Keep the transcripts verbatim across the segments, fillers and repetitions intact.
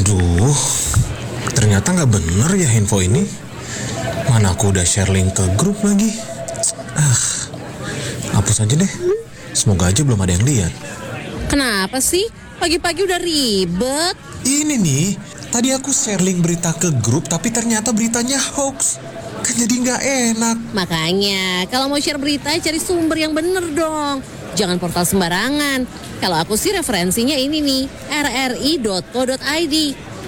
Duh, ternyata nggak bener ya info ini. Mana aku udah share link ke grup lagi. Ah, hapus aja deh. Semoga aja belum ada yang lihat. Kenapa sih? Pagi-pagi udah ribet. Ini nih, tadi aku share link berita ke grup tapi ternyata beritanya hoax. Kan jadi nggak enak. Makanya, kalau mau share berita, cari sumber yang bener dong. Jangan portal sembarangan. Kalau aku sih referensinya ini nih, rri.co.id.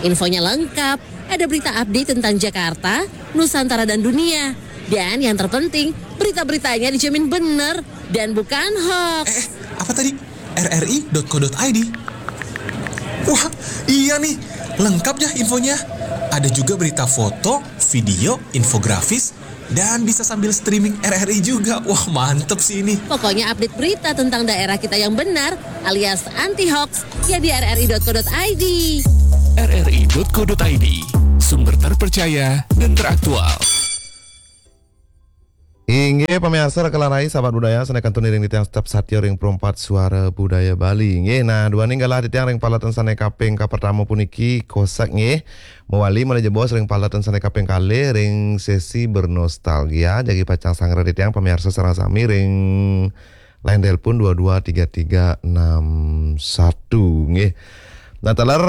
Infonya lengkap, ada berita update tentang Jakarta, Nusantara dan dunia. Dan yang terpenting, berita-beritanya dijamin bener dan bukan hoax. Eh, apa tadi? rri.co.id. Wah, iya nih, lengkap ya infonya. Ada juga berita foto, video, infografis, dan bisa sambil streaming RRI juga. Wah, mantep sih ini. Pokoknya update berita tentang daerah kita yang benar alias anti hoax ya di rri.co.id. rri.co.id, sumber terpercaya dan teraktual. Inggih, pamiarsa, raka lan rai, sahabat budaya, sané kantun iring titiang tetep satia ring Pro empat Suara Budaya Bali. Inggih, nah, duaning galah titiang ring paletan sané kaping kapertama puniki, Kosak, nggih. Mawali malih jebos ring paletan sané kaping kalih ring sesi bernostalgia, jagi pacang sangra titiang pamiarsa sareng sami ring line telepon dua dua tiga tiga enam satu, nggih. Nah, taler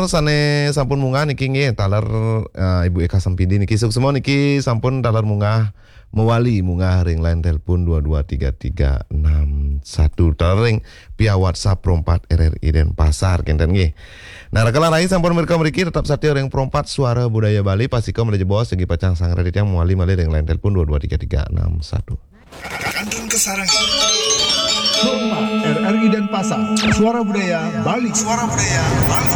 sané sampun munggah niki, nggih, taler, eh, Ibu Eka Sempidi niki, suksma niki sampun taler munggah, mawali munggah ring line telepon dua dua tiga tiga enam satu. Taler ring via WhatsApp Pro empat RRI Denpasar, kénten, nggih. Nah, raka lan rai, sampun mirika mriki, tetep satia ring Pro empat Suara Budaya Bali, pastika malih jebos jagi pacang sangra titiang mawali malih ring line telepon dua dua tiga tiga enam satu. Kantun kasarengin. Pro empat RRI Denpasar, Suara Budaya Bali. Suara Budaya Bali.